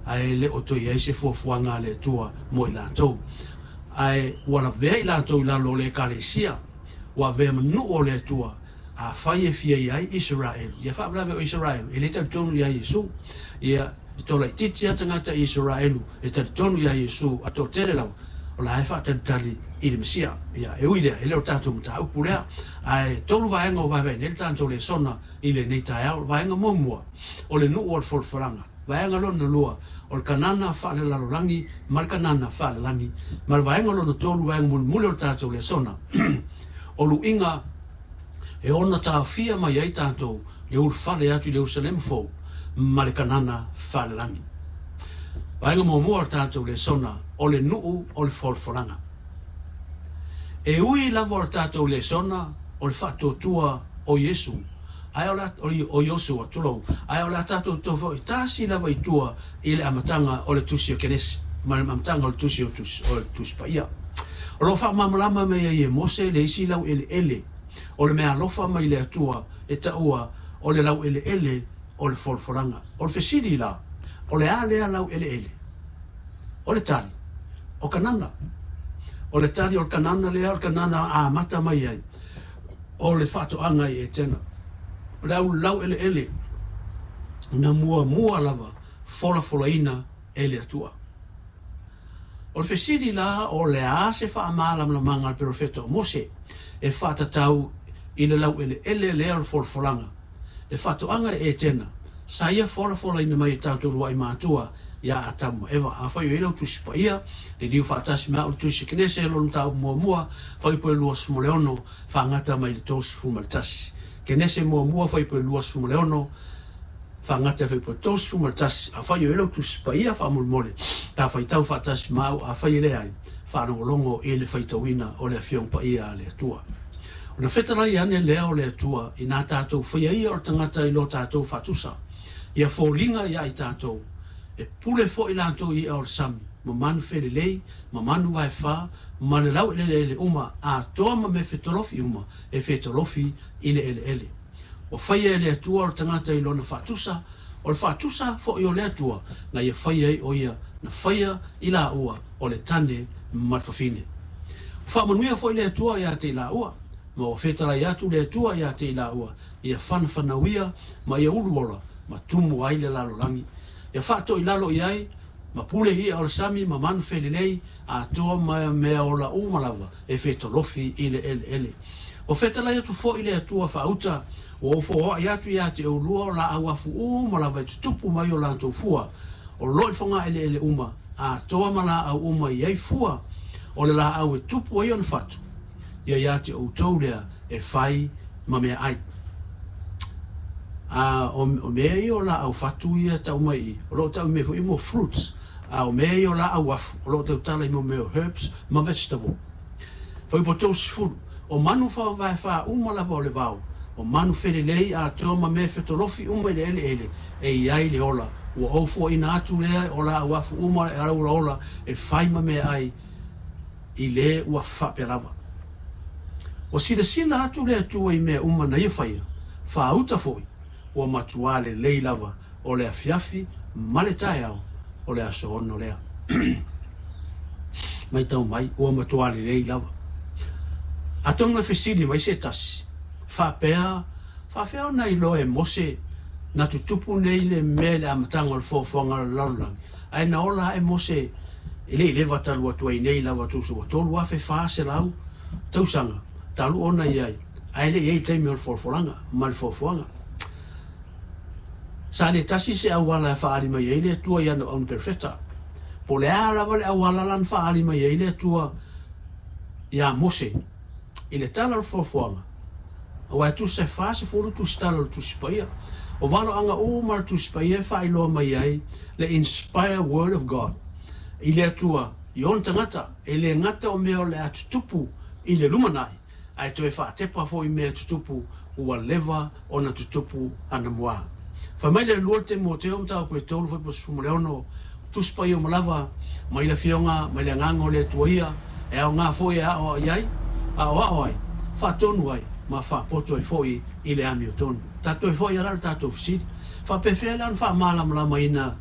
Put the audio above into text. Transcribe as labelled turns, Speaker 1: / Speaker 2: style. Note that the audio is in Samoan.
Speaker 1: ae le o toe i ai se fuafuaga a le Atua mo i latou. Ae ua lavea i latou i lalo o le Ekalesia, ua avea ma nuu o le Atua, afai e fia i ai Isaraelu, ia faalavelave o Isaraelu e le talitonu ia Iesu. Ia, e toalaitiiti lava tagata Isaraelu e talitonu ia Iesu, a toatele lava o la e faatalitali i le Mesia. Ia, e ui lea, e le o le tatou mataupu lea. Ae tolu vaega o vaevae nei le tatou lesona i lenei taeao. O le vaega muamua, o le nuu o le folafolaga. Vaega lona lua, o le Kanana faalelalolagi ma le Kanana faalelagi. Ma le vaega lona tolu, vaega mulimuli o le tatou lesona, o luiga e ona taofia mai ai tatou le ulufale atu i le Ierusalema fou ma le Kanana faalelagi. Vaega muamua o le tatou lesona, o le nuu o le folafolaga. E ui lava o le tatou lesona o le faatuatua o Iesu, ae o le o Iosua, tulou, ae o le a tatou toe foi tasi lava i tua i le amataga o le tusi o Kenese ma le amataga o le tusi o le Tusi Paia. O lo o faamalamalama mai ai e Mose le isi laueleele o le meaalofa mai le Atua e taua o le laueleele o le folafolaga. O le fesili la, o le a lea laueleele? O le tali, o Kanana. O le tali o le Kanana lea, o le Kanana amata mai ai o le faatoaga i Etena. O le au laueleele na muamua lava folafolaina e le Atua. O le fesili la, o le a se faamalamalamaga a le perofeta o Mose e faatatau i le laueleele lea o le folafolaga, le faatoaga i Etena, sa ia folafolaina mai e tatou luai matua ia Atamu ma Eva? Afai o i ai lau Tusi Paia, liliu faatasi ma au le Tusi Kenese, lona mataupu muamua, fuaiupu e 26, faagata mai le 31. Kenese muamua, fuaiupu e 26, faagata fuaiupu e 31. Afai o i ai lau Tusi Paia, faamolemole, ta faitau faatasi ma au. Afai e leai, faalogologo i le faitauina o le Afioga Paia a le Atua. Ona fetalai ane lea o le Atua i nā tatou faia ia o le tagata i lo tatou faatusa, ia foliga ia i tatou, e pule foi latou i i'a o le sami, ma manu felelei, ma manu vaefa, ma le laueleele uma atoa ma mea fetolofi uma e fetolofi i le eleele. Ua faia e le Atua o le tagata i lona faatusa, o le faatusa foi o le Atua na ia faia ai o ia, na faia i laua o le tane ma le fafine. Ua faamanuia foi le Atua ia te i laua, ma ua fetalai atu le Atua ia te i laua, ia fanafanauia ma ia uluola ma tumu ai le lalolagi. Ia faatoilalo i ai, ma pule i'a o le sami ma manu felelei, atoa ma mea ola uma lava e fetolofi i le eleele. Ua fetalai atu foi le Atua faauta, ua ou foai atu ia te oulua o laau afu uma lava e tutupu mai o latou fua, o lo o i fogaeleele uma, atoa ma laau uma i ai fua, o le laau e tupu ai ona fatu, ia ia te outou lea e fai ma meaai. A o mea ia o laau fatu ia tau mai i, o lo o tau mai foi mo fruits, a o mea ia o laau afu, o lo o tautala i mo mea o herbs ma vegetable. Fuaiupu 30, o manu faavaefa uma lava o le vao, o manu felelei atoa ma mea fetolofi uma i le eleele e i ai le ola, ua ou fuaina atu lea o laau afu uma e olaola e fai ma meaai i le ua faapea lava. Ua silasila atu le Atua i mea uma na ia faia, faauta foi, ua matuā lelei lava. O le afiafi ma le taeao o le aso 6 lea. Maitau mai, ua matuā lelei lava. Atonu e fesili mai se tasi, faapea, faafefea ona iloa e Mose na tutupu nei le mea i le amataga o le foafoaga o le lalolagi, ae na ola ae Mose e le i leva talu atu ai nei lava tusa ua 3400 tausaga talu ona i ai, ae le i ai le taimi o le folafolaga ma le foafoaga? Sa le tasi se auala e faaali mai ai le Atua i ana auna perofeta. Po o le a lava le auala la na faaali mai ai le Atua iā Mose i le tala o le foafoaga, aua e tusa e 40 tusitala o le Tusi Paia. O valoaga uma o le Tusi Paia e faailoa mai ai le inspire word of God i le Atua i ona tagata, e le gata o mea o le a tutupu i le lumanai, ae toe faatepa foi mea tutupu ua leva ona tutupu anamua. Fai mai le 2 Timoteo mataupu e 3 fuaiupu 16, Tusi Paia uma lava, mai le Afioga, mai le Agaga o le Atua ia, e aoga foi e aoao ai, aoao ai, faatonu ai, ma faapoto ai foi i le amiotonu. Tatou foi ala le tatou fesili. Faapefea la ona faamalamalamaina